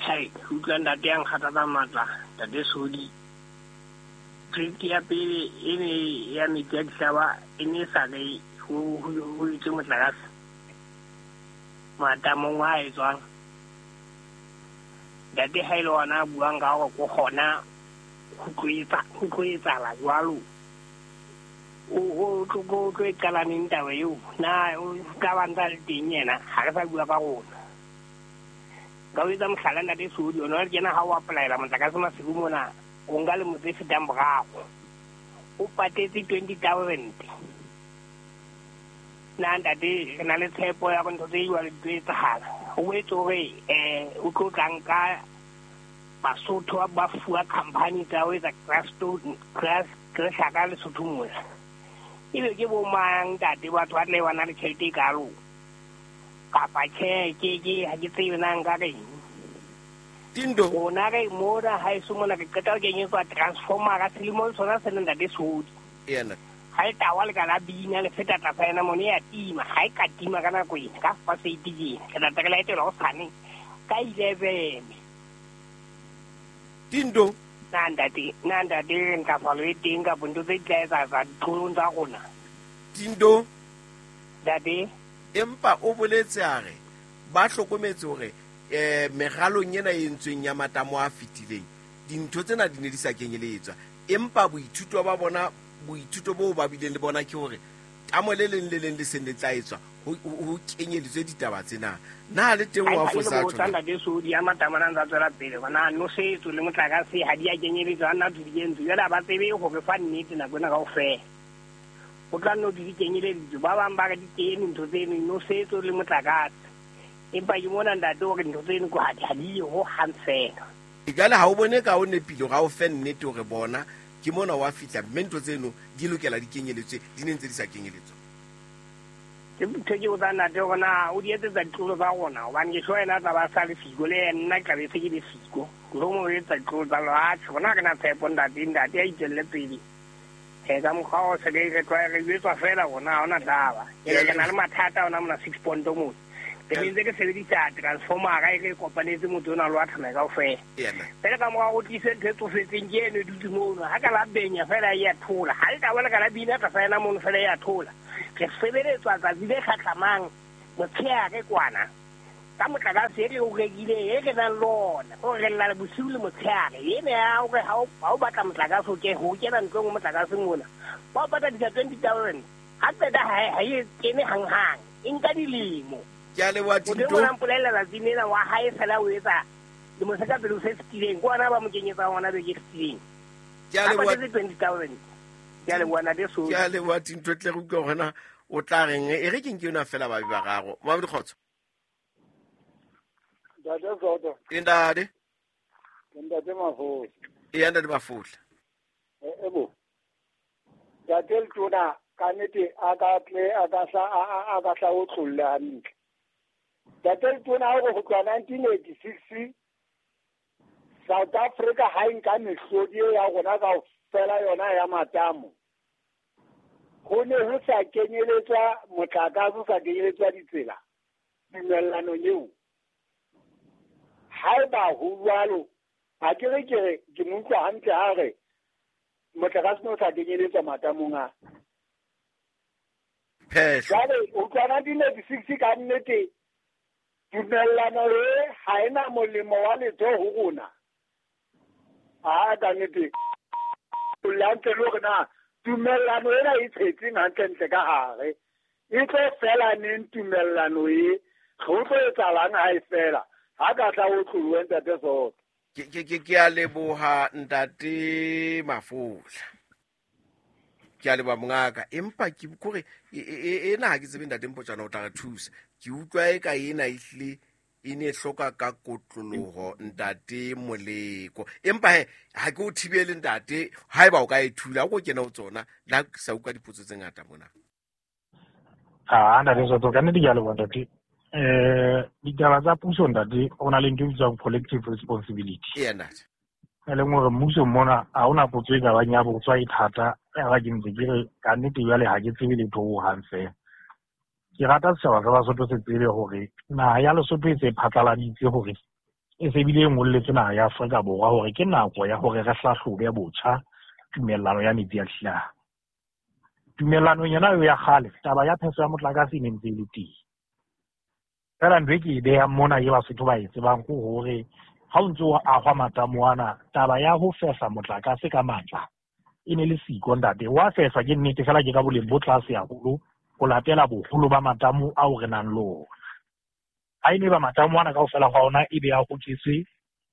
Hai, utlwa ntate ya nkgathatsa matla, ntate Sodi. Trip ya pele e ne ya metsi a dihlaba e ne e sa re ho etswe motlakase matamong a etswang. Ntate ha e le ona a buang ka hore ko kgona ho tlo etsahala jwalo. O tlo e qala neng taba eo? Na o tla ba ntsa le teng yena? Ha re sa bua ka rona. Ka o etsa mohlala ntate Sodi, ona le kena ha o applyela motlakase Maseru mona, o nka lemo tse fetang boraro. O patetse 20,000. Na ntate re na le tshepo ya hore ntho tse jwalo di tlo etsahala. O boetse hore o tlo tla nka Basotho ba fuwa company tsa ho etsa ka Lesotho mona. Ebe ke bo mang ntate batho ba tle ba na le tjhelete e kalo? Kapa tjhe, ke ha ke tsebe na nka reng. Tindo. Rona re mona haeso mona re qeta ho kenyetswa transformera selemong sona sena ntate Sodi. Yena. Ha e tawa le ka la bina le feta tlasa yena mona e a tima, ha e ka tima ka nako ena, ka fa eight tjena. Re tla re laetelwa hosane ka 11. Tindo. Na ntate ntlafalo e teng kapa ntho tse di tla etsa ditlolong tsa rona? Tindo. Ntate. Empa o boletse a re ba hlokometse hore meralong ena e entsweng ya matamo a fetileng dintho tsena di ne di sa kenyeletswa, empa boithuto ba bona, boithuto boo ba bileng le bona ke hore tamo le leng le leng le seng le tla etswa ho kenyeletswe ditaba tsena. Na le teng wa fosa tjho? Ntate Sodi ya matamo a ntse tswela pele hona nosetso le motlakase ha di a kenyeletswa, nna di kentswe jwale ha ba tsebe hore fa nnete nako ena kaofela. O tla nno di kenyeleditswe, ba bang ba re di kene ntho tseno nosetso le motlakase, empa ke mona ntate hore ntho tseno ko ha di ho hang fela. Jwale ha o bone ka o nepile hore ha o fe nnete hore bona ke mona wa fihla mme ntho tseno di lokela di kenyeletswe, di ne ntse di sa kenyeletswa. Ke ntho ke botsa ntate hore na o di etsetsa ditlolo tsa rona, hobane ke sure yena a tla ba sa le siko le nna ke tla be se ke le siko. Mohlomong o etsa ditlolo tsa lewatle, rona ha re na tshepo ntate, ntate a itswelle pele. Ka mokgwa o se re re jwetswa fela rona ha hona taba. Ke na le mathata ona mona 6 point mona. Re ntse re sebedisa transformera e re kopanetse motho ona le wa tsamaya kaofela. Fela ka mora ho tlise ntho e tsofetseng ke eno e dutse mono. Ha ka la benya fela e a thola. Ha le ka bona ka la bina tlasa yena mono fela e a thola. Re sebeletswa tsatsi le hlahlamang motshehare kwana. Ka motlakase e re o rekile e re nang le ona. O re lla bosiu le motshehare. Ene ya hore ha o batla motlakase o ke ho kena ntlong motlakase mona. Ba o patadisa 20,000. Ha qeta ha e kene hanghang. E nka dilemo. Ke a leboha Tinto. Modimo a mpolella tsatsi lena wa hae fela o etsa lemo se ka pele o se fetileng. Ke ona ba mo kenyetsa hona beke e fetileng. Ke a leboha. A patetse 20,000. Ke a leboha ntate Sodi. Ke a leboha Tinto, tle re utlwe hore na o tla reng. E re ke nke yona fela ba be bararo. Mabedi kgotso. Ntate Soto. Ntate. Ntate Mafola. Ee, ntate Mafola. Ebo. Ntate Letona ka nnete a ka tle a ka hla o tlolle hantle. Ntate Letona hore ho tloha 1986 South Africa ha e nka mehlodi e ya rona kaofela yona ya matamo. Ho ne ho sa kenyeletswa motlakase, ho sa kenyeletswa ditsela tumellanong eo. Haeba ho jwalo, ha ke re ke re ke mo utlwa hantle ha re motlakase o sa kenyeletswa matamong a. Jwale ho tloha 1986 ka nnete tumellano e ha ena molemo wa letho ho rona. A ka nnete o hantle le hore na tumellano ena e tshetseng hantlentle ka hare. E tlo fela neng tumellano e? Ho tlo etsahalang ha e fela? Ha ka tla o tlohe ntate Soto. Ke a leboha ntate Mafola. Ke a leboha mongaka, empa ke kore ena ha ke tsebe ntate Mpotjana o tla re thusa. Ke utlwa e ka ena ehlile e ne hloka ka kotloloho ntate Moleko. Empa he ha ke o thibele ntate, haeba o ka e thula o kena ho tsona la sa utlwa dipotso tse ngata mona. Ah, ntate Soto, ka nnete ke a leboha ntate. Ditaba tsa puso ntate, ho na le ntho e bitswang collective responsibility. Ee ntate. E leng hore mmuso mona ha hona potso e ka bang ya botswa e thata, ya ba ke ntse ke re ka nnete jwale ha ke tsebe letho ho hang fela. Ke rata setjhaba sa Basotho se tsebe hore naha ya Lesotho e se phatlaladitse hore E se bile e ngolletse naha ya Afrika Borwa hore ke nako ya hore re hlahlobe botjha tumellano ya metsi a hlaha. Tumellanong yona eo ya kgale, taba ya phehlo ya motlakase e ne ntse e le teng. Feela ntho e ke e behang mona e Basotho ba e tsebang ke hore ha o ntse o ahwa matamo ana, taba ya ho fehla motlakase ka matla e ne le siko ntate. Wa fehlwa ke nnete fela ke ka boleng bo tlase haholo ho latela boholo ba matamo ao re nang le ona. Ha e ne ba matamo ana kaofela hwa ona e be a hoketswe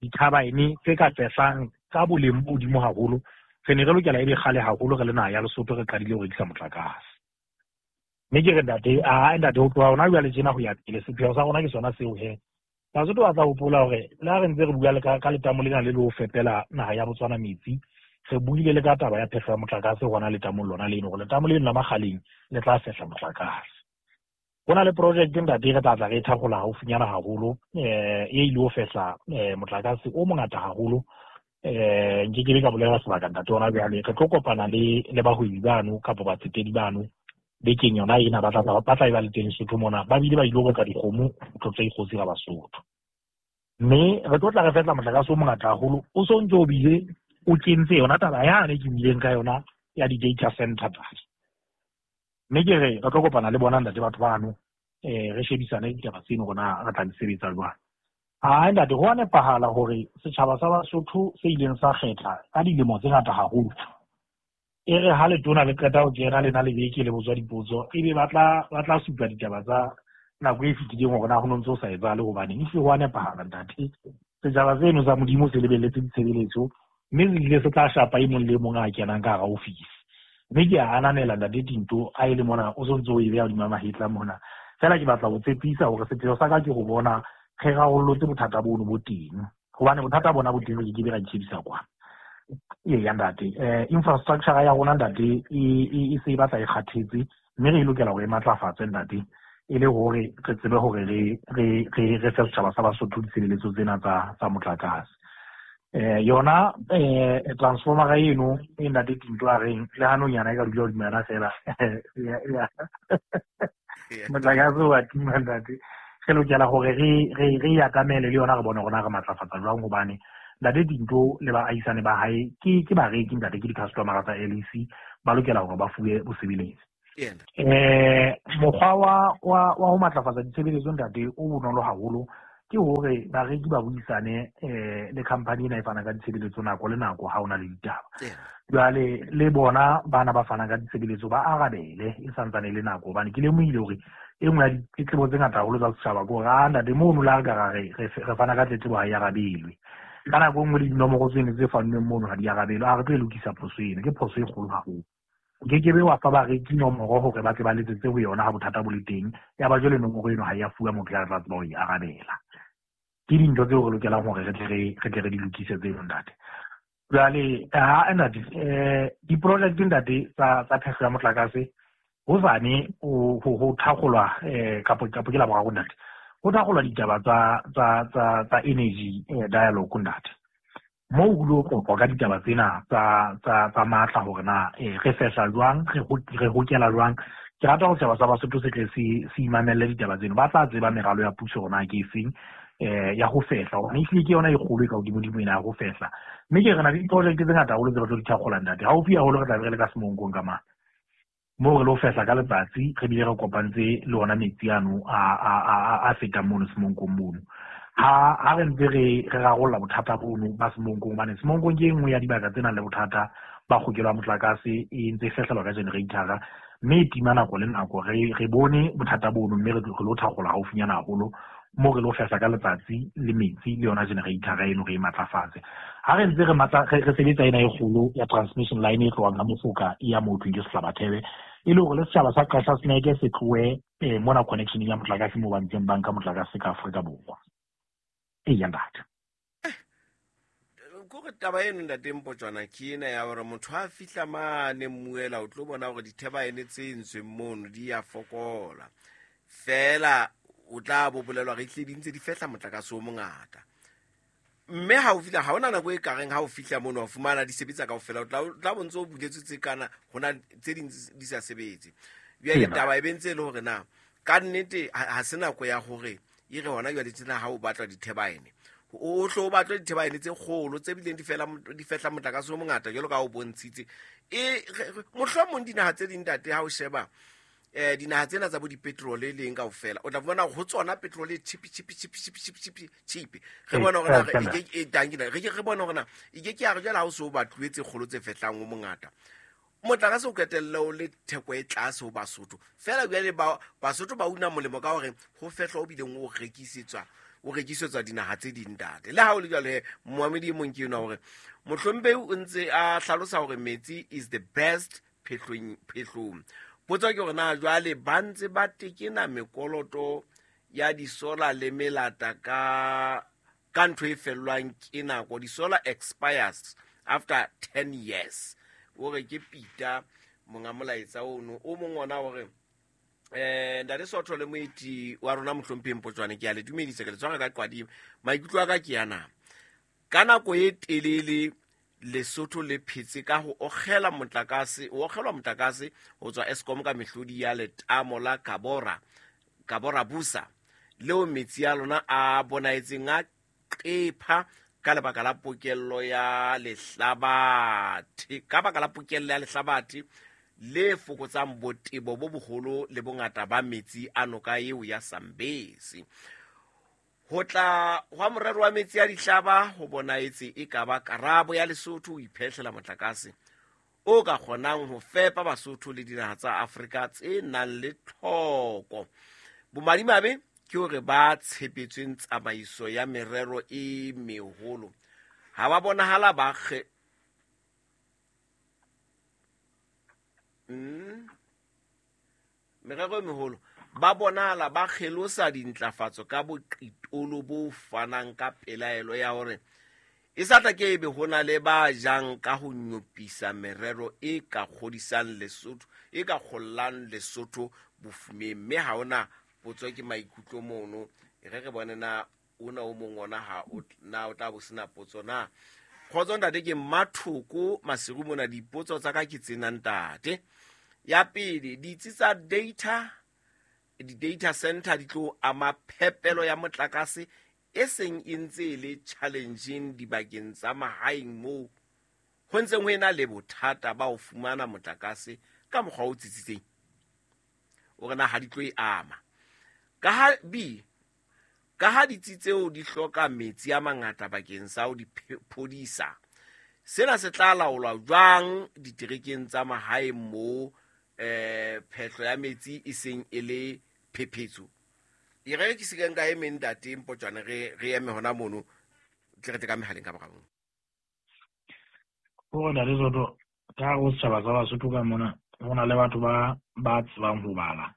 dithabaene tse ka fehlang ka boleng bo hodimo haholo, re ne re lokela e be kgale haholo re le naha ya Lesotho re qadile ho rekisa motlakase. Mme ke re ntate, a ntate ho tloha hona jwale tjena ho ya pele, sepheo sa rona ke sona seo he. Basotho ba tla hopola hore le ha re ntse re bua le ka letamo lena le le ho fepela naha ya Botswana metsi, re buile le ka taba ya phehlo ya motlakase hona letamong lona leno, hore letamo leno la Makgaleng le tla fehla motlakase. Ho na le project ntate re tla tla re e thakgola haufinyana haholo, e ile ho fehla motlakase o mongata haholo. Nke ke be ka bolela sebaka ntate hona jwale, re tlo kopana le bahwebi bano kapa batsetedi bano bekeng yona ena, ba tla e ba le teng Lesotho mona, ba bile ba ile ho reka dikgomo ho tlotla dikgosi ga Basotho. Mme re tlo tla re fehla motlakase o mongata haholo, o so ntse o bile o kentse yona taba yane ke buileng ka yona ya di-data center tate. Mme ke re re tlo kopana le bona ntate batho bano, re shebisane ditaba tseno rona re tla di sebetsa jwang. Hai ntate, ho a nepahala hore setjhaba sa Basotho se ileng sa kgetha ka dilemo tse ngata haholo, e re ha letona le qeta ho kena lena le beke le botswa dipotso, ebe ba tla supa ditaba tsa nako e fetileng hore na ho no ntse ho sa etsahale hobaneng. Ehlile ho a nepahala ntate, setjhaba seno sa Modimo se lebelletse ditshebeletso, mme se bile se tla shapa e mong le e mong a kenang ka hara ofisi. Mme ke a ananela ntate Tinto ha e le mona o sontso o e beha hodima mahetla mona. Feela ke batla ho tshepisa hore sepheo sa ka ke ho bona re rarollotse bothata bono bo teng, hobane bothata bona bo teng re ke ke be ra itshebisa kwana. Eya ntate, infrastructure ya rona ntate e se e batla e kgathetse, mme re lokela hore e matlafatse ntate, e le hore re tsebe hore re fe setjhaba sa Basotho ditshebeletso tsena tsa motlakase. Yona transformera eno e ntate Tinto a reng le hanong yana e ka dula hodima yona fela motlakase wa tima ntate. Re lokela hore re e atamele le yona, re bone hore na re matlafatsa jwang, hobane ntate Tinto le baahisane ba hae ke bareki ntate, ke di-customer tsa LEC, ba lokela hore ba fuwe bosebeletsi. Mokgwa wa ho matlafatsa ditshebeletso ntate o bonolo haholo ke hore bareki ba buisane le company ena e fana ka ditshebeletso nako le nako ha ona le ditaba. Jwale le bona bana ba fanang ka ditshebeletso ba arabele e santsane e le nako, hobane ke lemohile hore e nngwe ya ditletlebo tse ngata haholo tsa setjhaba ke hore a ntate mono le ha re ka ra re fana ka tletlebo ha e arabelwe. Ka nako e nngwe le dinomoro tseno tse fannweng mono ha di arabelwe, a re tlo e lokisa phoso eno, ke phoso e kgolo haholo. O ke ke be wa fa bareki nomoro hore ba tle ba letsetse ho yona ha bothata bo le teng, ya ba jwale nomoro eno ha ya fuwa motho ya tla tseba ho e arabela. Ke dintho tseo re lokelang hore re tle re di lokise tseno ntate. Jwale ha ntate, di-project ntate tsa phehlo ya motlakase hosane ho thakgolwa, kapo ke la boraro ntate, ho thakgolwa ditaba tsa energy dialogue ntate. Moo ho lo qoqwa ka ditaba tsena tsa matla hore na re fehla jwang, re hokela jwang. Ke rata hore setjhaba sa Basotho se tle se imamelle ditaba tseno, ba tla tseba meralo ya puso hore na ke efeng ya ho fehla, hobane ehlile ke yona e kgolo e ka hodimodimo ena ya ho fehla. Mme ke re na le diproject tse ngata haholo tse re tlo di thakgola ntate. Haufi haholo re tla be re le ka Semonkong ka mane, moo re lo fehla ka letsatsi, re bile re kopantse le ona metsi ano a fetang mono Semonkong mono. Ha re ntse re rarolla bothata bono ba Semonkong, hobane Semonkong ke e nngwe ya dibaka tse nang le bothata ba kgokelo ya motlakase, e ntse e fehlelwa ka generator-a, mme e tima nako le nako. Re bone bothata bono, mme re lo thakgola haufinyana haholo moo re lo fehla ka letsatsi le metsi le yona generator eno re e matlafatse. Ha re ntse re sebetsa ena e kgolo ya transmission line e tlohang ha Mofoka e ya moo thweng ke Sehlabathebe, e le hore le setjhaba sa Qasha Snake se tlohe mona connection ya motlakase moo ba ntseng ba nka motlakase ka Afrika Borwa. Eya ntate. Kore taba eno ntate Mpotjwana ke ena ya hore motho ha fihla mane mmuela o tlo bona hore dithebaene tse entsweng mono di ya fokola. Feela o tla bo bolelwa re tle di ntse di fehla motlakase o mongata. Mme ha o fihla, ha hona nako e kareng ha o fihla mono wa fumana di sebetsa kaofela, o tla bo ntse o buletswe tse kana hona tse ding di sa sebetse. Jwale taba e be ntse e le hore na ka nnete ha se nako ya hore e re hona jwale tjena ha o batla dithebaene O hlo o batle dithebaene tse kgolo tse bileng di fela di fehla motlakase o mongata jwalo ka o bontshitse. E mohlomong dinaha tse ding, ntate, ha o sheba dinaha tsena tsa bo dipetrole e leng kaofela, o tla fumana ho tsona petrol e cheap cheap cheap cheap cheap cheap cheap. Re bona hore na e ke e tang re ke re bona hore na e ke ke ya re jwale ha o se o batluwe tse kgolo tse fehlang o mongata motlakase, o qetelle o le theko e tlase ho Basotho fela. Jwale Basotho ba una molemo ka hore ho fehlwa o bileng o rekisetswa dinaha tse ding, ntate. Le ha o le jwalo he, moamedi e mong ke enwa hore mohlomphehi o ntse a hlalosa hore metsi is the best phehlong. Potso ke hore na jwale ba ntse ba tekena mekoloto ya disola le melata ka ntho e fellwang ke nako. Di-solar expires after 10 years. O re ke Peter monga molaetsa ono. O mong ona hore ntate Sotho le moeti wa rona mohlompheng Potswane, ke a le dumedisa, ke le tshwara ka qwadimo. Maikutlo a ka ke yana: ka nako e telele Lesotho le phetse ka ho okgela motlakase, o okgelwa motlakase ho tswa Eskom ka mehlodi ya letamo la Kabora Busa, leo metsi a lona a bonaetseng a qepha ka lebaka la pokello ya lehlabathe, ka baka la pokello ya lehlabathe le fokotsang botebo bo boholo le bongata ba metsi a noka eo ya Sambesi. Ho tla hwa morero wa metsi a dihlaba ho bonaetse e ka ba karabo ya Lesotho ho iphehlela motlakase o ka kgonang ho fepa Basotho le dinaha tsa Afrika tse nang le tlhoko. Bomadimabe ke hore ba tshepetsweng tsamaiso ya merero e meholo ha ba bonahala ba merero e meholo ba bonahala ba kgelosa dintlafatso ka boqitolo bo fanang ka pelaelo ya hore e sa tla ke ebe ho na le ba jang ka ho nyopisa merero e ka kgodisang Lesotho, e ka kgollang Lesotho bofumeng. Mme ha ona potso, ke maikutlo mono. E re re bone na ona o mong ona ha o na o tla bo sena potso na. Kgotso ntate, ke Mmathoko Maseru mona. Dipotso tsa ka ke tsena, ntate. Ya pele, ditsi tsa data, di-data center di tlo ama phepelo ya motlakase e seng e ntse e le challenging dibakeng tsa mahaeng moo ho ntseng ho ena le bothata ba ho fumana motlakase ka mokgwa o tsitsitseng. O re na ha di tlo e ama? Ka ha b ka ha ditsi tseo di hloka metsi a mangata bakeng sa ho di phodisa, sena se tla laolwa jwang diterekeng tsa mahaeng moo phehlo ya metsi e seng e le phephetso? E re ke se nka e meng, ntate Mpotswane, re eme hona mono, tle re tle ka mehaleng ka morao. Hore ntate Soto, ka hare ho setjhaba sa Basotho ka mona, ho na le batho ba tsebang ho bala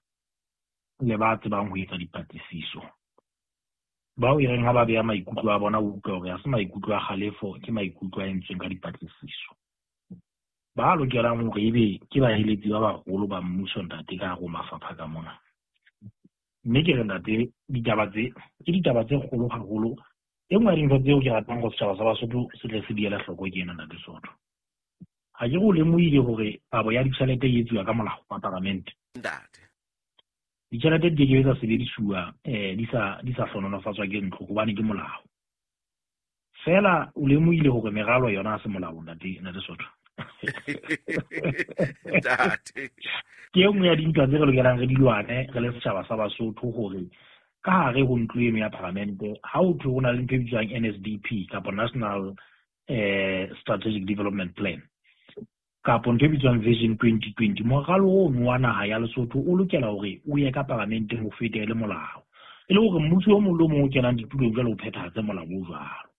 le ba tsebang ho etsa dipatlisiso, bao e reng ha ba beha maikutlo a bona, o utlwa hore ha se maikutlo a kgalefo, ke maikutlo a entsweng ka dipatlisiso. Ba lokelang hore ebe ke baeletsi ba baholo ba mmuso, ntate, ka hare ho mafapha ka mona. Mme ke re, ntate, ditaba tse ke ditaba tse kgolo haholo. E nngwe ya dintho tseo ke ratang go setjhaba sa Basotho se tle se di ele hloko ke ena, ntate Soto. Ha ke re o lemohile hore kabo ya ditjhelete e etsuwa ka molao wa paramente? Ntate. Ditjhelete di keke tsa sebedisuwa di sa hlohonolofatswa ke ntlo, hobane ke molao. Fela o lemohile hore meralo yona ha se molao, ntate Soto? Ntate. Ke e nngwe ya dintwa tse re lokelang re di lwane re le setjhaba sa Basotho, hore ka hare ho ntlo eno ya paramente, ha ho thwe ho na le ntho e bitswang NSDP kapa National Strategic Development Plan kapo ntho e bitswang Vision 2020, moralo ono wa naha ya Lesotho o lokela hore o ye ka paramenteng, ho fete e le molao, e le hore mmuso o mong le o mong o kenang ditulong jwale o phethahatse molao o jwalo.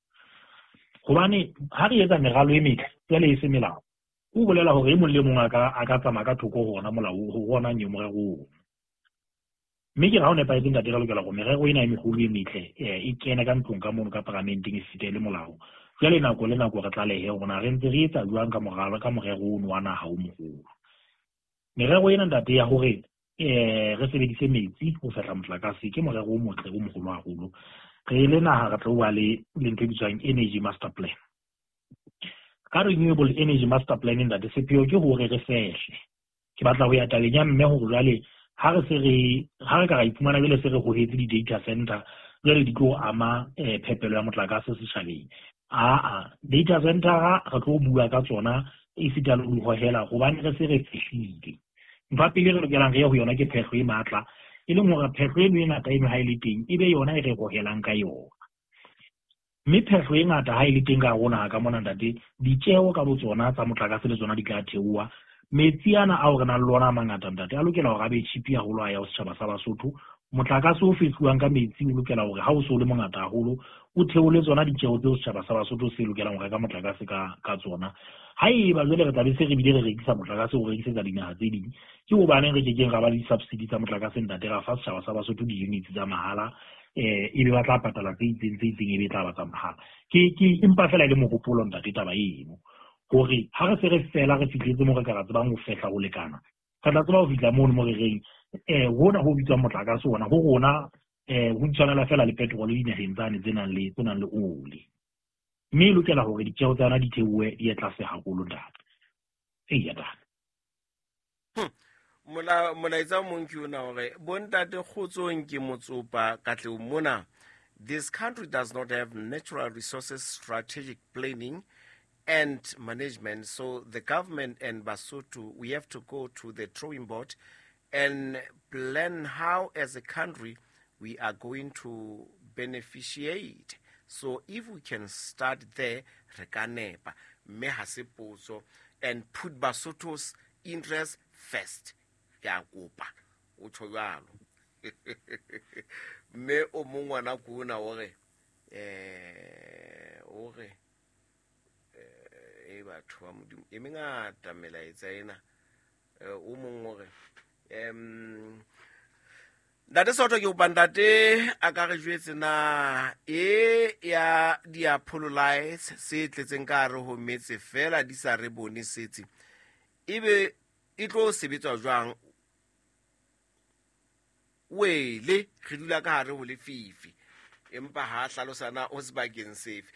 Hobane ha re etsa meralo e metle jwale e se melao, o bolela hore e mong le mong a ka tsamaya ka thoko ho ona molao, ho ona nyo morero ono. Mme ke re ha o nepahetse, ntate, re lokela hore merero ena e meholo e metle e kene ka ntlong ka mono ka paramenteng, e fete e le molao. Jwale nako le nako re tlalehe hore na re ntse re etsa jwang ka moralo, ka morero ono wa naha o moholo. Merero ena, ntate, ya hore re sebedise metsi ho fehla motlakase ke morero o motle o moholo haholo. Re le naha re tlo ba le ntho e bitswang energy master plan. Ka renewable energy master plan, ntate, sepheo ke hore re fehle. Ke batla ho ya tabeng ya mme hore jwale ha re se re ha re ka ra iphumana jwale se re hohetse di-data center Jwale di tlo ama phepelo ya motlakase setjhabeng. Aa, data center re tlo bua ka tsona esita le ho di hohela hobane re se re fihlile. Ntho ya pele re lokelang re ye ho yona ke phehlo e matla, e leng hore phehlo eno e ngata eno ha e le teng e be yona e re hohelang ka yona. Mme phehlo e ngata ha e le teng ka hare ho naha ka mona ntate, ditjeho ka botsona tsa motlakase le tsona di tla theoha. Metsi ana ao re nang le ona a mangata ntate a lokela hore a be cheap haholo a ya ho setjhaba sa Basotho. Motlakase o fehluwang ka metsi o lokela hore ha o so le mongata haholo o theole tsona ditjeho tseo setjhaba sa Basotho se lokelang ho reka motlakase ka tsona. Haeba jwale re tla be se re bile re rekisa motlakase o rekisetsa dinaha tse ding, ke hobaneng re kekeng ra ba le di-subsidy tsa motlakase ntate, ra fa setjhaba sa Basotho di-units tsa mahala, ebe ba tla patala tse itseng tse itseng ebe e tla ba tsa mahala. Ke empa fela e le mohopolo ntate taba eno, hore ha re se re fela re fihletse moo re ka ra tsebang ho fehla ho lekana, re tla tseba ho fihla mono mo re reng hona ho bitswang motlakase ona ho rona ho tshwanela fela le petrol dinaheng tsane tse nang le oli. Mme e lokela hore ditjeho tsa yona di theohe di ye tlase haholo ntate. Eya ntate. Molaetsa o mong ke ona hore bontate kgotsong ke motsopa Katlehong mona. This country does not have natural resources strategic planning and management, so the government and Basotho, we have to go to the drawing board and plan how as a country we are going to beneficiate. So if we can start there, re ka nepa, mme ha se potso, and put Basotho's interest first. Ke a kopa, o tjho jwalo. Mme o mong ngwana ko ona o re, o re, e batho ba Modimo, e mengata melaetsa ena. O mong o re, Ntate Soto ke kopa ntate a ka re jwetse na e ya di-Apollo lights se tletseng ka hare ho metse fela di sa re bone setse, ebe e tlo sebetswa jwang? Wele re dula ka hare ho lefifi, empa ha hlalosa na o sebakeng sefe.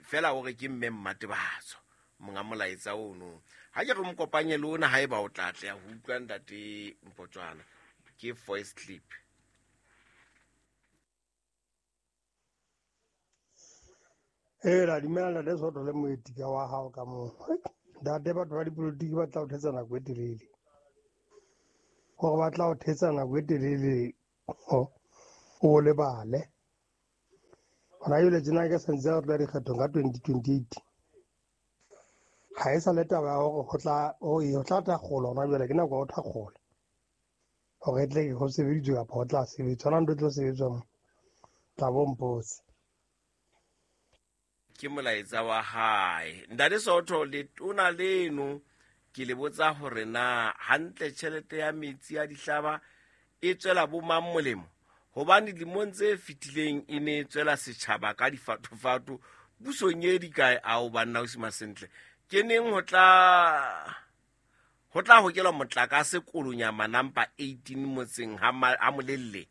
Fela hore ke mme Mmatebatso monga molaetsa ono. Ha ke re mo kopanye le ona haeba o tla tla ho utlwa ntate Mpotswana. Ke voice clip. La dumela ntate Soto le moetika wa hao ka moo. Ntate batho ba dipolotiki ba tla o thetsa nako e telele. Hore ba tla o thetsa nako e telele o lebale. Hona jwale tjena ke sentse re tla dikgethong ka 2028. Ha e sa le taba ya hore ho tla thakgola hona jwale, ke nako ya ho thakgola. Hore e tle ho sebeditswe kapa ho tla sebetswa, hona ntho e tlo sebetswa mo tla bo mpotse. Ke molaetsa wa hae. Ntate Soto le tona leno ke le botsa hore na hantle tjhelete ya metsi ya dihlaba e tswela bo mang molemo, hobane dilemong tse fetileng e ne e tswela setjhaba ka difatofato pusong e dikae ao banna o sima sentle. Ke neng ho tla hokelwa motlakase Kolonyama number 18 motseng ha Molelle.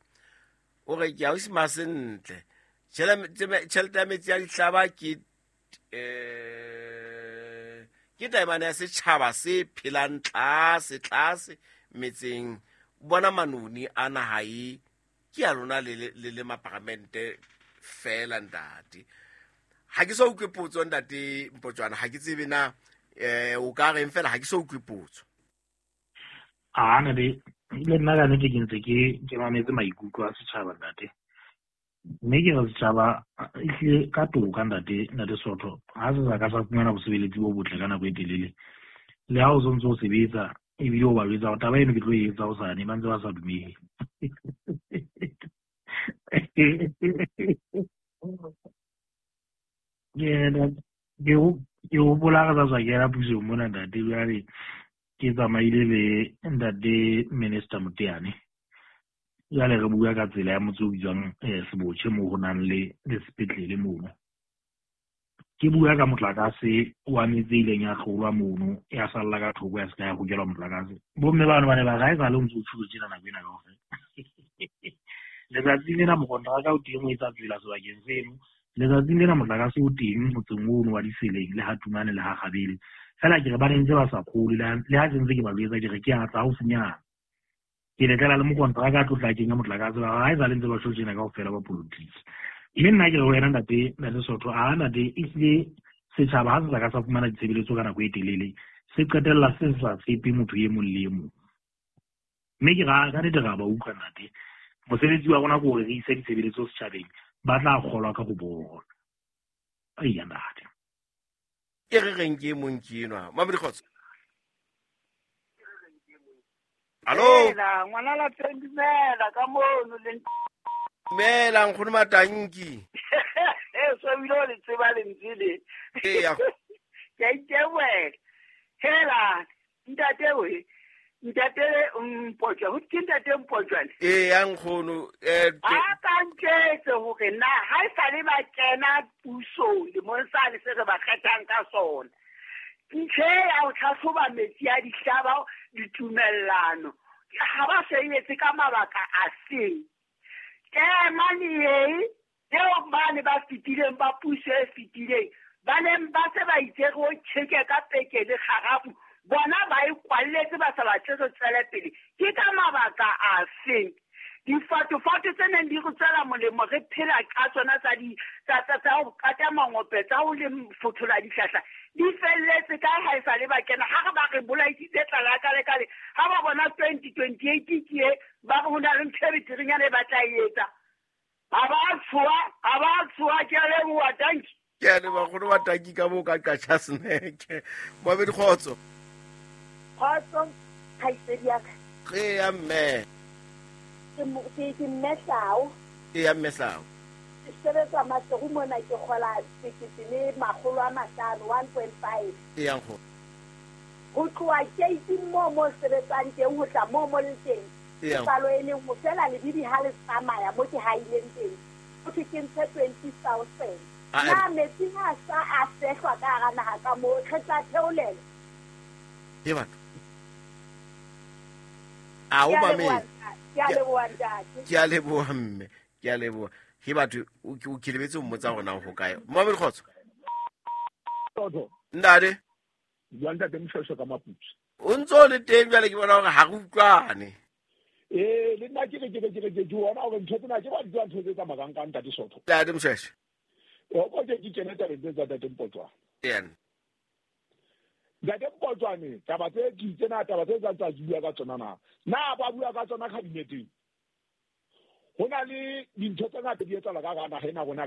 O re ke a o sima sentle. Tjhelete ya metsi ya dihlaba ke taemane ya setjhaba se phelang tlase tlase metseng. Bona manoni a naha e ke ya lona le maparamente fela ntate. Ha ke so utlwe potso ntate Mpotswana, ha ke tsebe na o ka reng fela, ha ke so utlwe potso. A na le nna ka nnete ke ntse ke mametse maikutlo a setjhaba ntate. Mme ke re setjhaba ehlile ka toka ntate Soto, ha se sa ka sa fumana bosebeletsi bo botle ka nako e telele. Le ha o sontso o sebetsa ebile o ba jwetsa hore taba eno ke tlo e etsa hosane, ba ntse ba sa dumele. Ke hopola re sa tswa kena pusong mona ntate, jwale ke tsamaile le ntate Minister Moteane. Jwale re bua ka tsela ya motse o bitswang Sebotjhe moo ho nang le sepetlele mono. Ke bua ka motlakase wa metse e ileng ya hlolwa mono, ya salla ka thoko ya se ka ya hokelwa motlakase. Bomme bano ba ne ba re ha esale o ntso o tjhulo tjena nako ena kaofela. Letsatsing lena mokontraka o teng o etsa tsela sebakeng seno. Letsatsing lena motlakase o teng motseng ono wa Diseleng le ha Tumane le ha Gabele. Fela ke re ba ne ntse ba sa kgolwe, le ha ke ntse ke ba jwetsa ke re ke a tla haufinyana. Ke le tlela le mokontraka a tlotla kenya motlakase ba ga e sa le ntse ba tjho tjena kaofela ba politiki. Mme nna ke re ho wena ntate Sotho, a ntate ehlile setjhaba ha se sa ka sa fumana ditshebeletso ka nako e telele, se qetella se sa tshepe motho e mong le e mong. Mme ke ra ka nnete ra ba utlwa ntate. Mosebetsi wa rona ke hore re ise ditshebeletso setjhabeng, ba tla kgolwa ka ho bona. Eya ntate. E re reng ke e mong ke enwa. Mamedi kgotso. Hallo. Dumela, ngwana lapeng, dumela ka mono le Dumela nkgono Matanki. So bile o le tseba lentswe le. Eya. Ke a itebohela. Hela, ntate we, ntate Mpotjwa, ho ke ntate Mpotjwane? Eya nkgono, A ka ntjwetse hore na ha e sale ba kena pusong lemong sane se re ba kgethang ka sona. Ntho e ya ho tlhatlhoba metsi a dihlaba ditumellano ha ba se etse ka mabaka a seng. Ke mane eo bane ba fetileng ba puso e fetileng ba neng ba se ba itse re o tjheke ka peke le kgarafu, bona ba e kwalletse ba sa batle re tswele pele. Ke ka mabaka a feng? Difatofato tse neng di re tswela molemo re phela ka tsona tsa di tsa ho kata mangope, tsa ho le fothola dihlahla, di felletse ka ha e sa le ba kena. Ha re ba re bolaisitse tlala ka le kale, ha ba bona 2028 ke e, ba re ho na le ntho e beterenyana e ba tla e etsa. Ha ba tshoha, ke a leboha, tanki. Ke a leboha nkgono Matanki ka moo ka Qacha Snack. Moabedi kgotso. Kgotso, kgaitsedi ya ka. Eya mme. Ke Mmehlao. Eya Mmehlao. Ke sebetsa Maseru mona, ke kgola 1,500, 1.5. Eya nkgono. Ho tloha keiting moo mo sebetsang teng ho tla moo mo le teng. Eya. Palo e leng ho fela lebidi ha le tsamaya mo ke haileng teng. Ho thwe ke ntshe 20,000. Na metsi ha sa a fehlwa ka hara naha ka moo, re tla theolela. Ke batho. A o mamele. Ke a leboha ntate. Ke a leboha mme. Ke a leboha. Ke batho o ke lebetse ho mmotsa hore na ho kae. Moabedi kgotso. Kgotso. Ntate. Bua ntate Moshweshwe ka Maputsu. O ntso le teng jwale ke bona hore ha re utlwane. Le nna ke re ke bona hore ntho tsena ke ba di tswa ntho tse tsamayang ka ntate Sotho. Ntate Moshweshwe. O ko ke kene tabeng tse tsa ntate Mpotjwane. Yena. Ntate Mpotjwane, taba tse ke tsena taba tse tsa bua ka tsona na. Na ba bua ka tsona kabineteng. Ho na le dintho tse ngata di etsahala ka hara naha ena rona.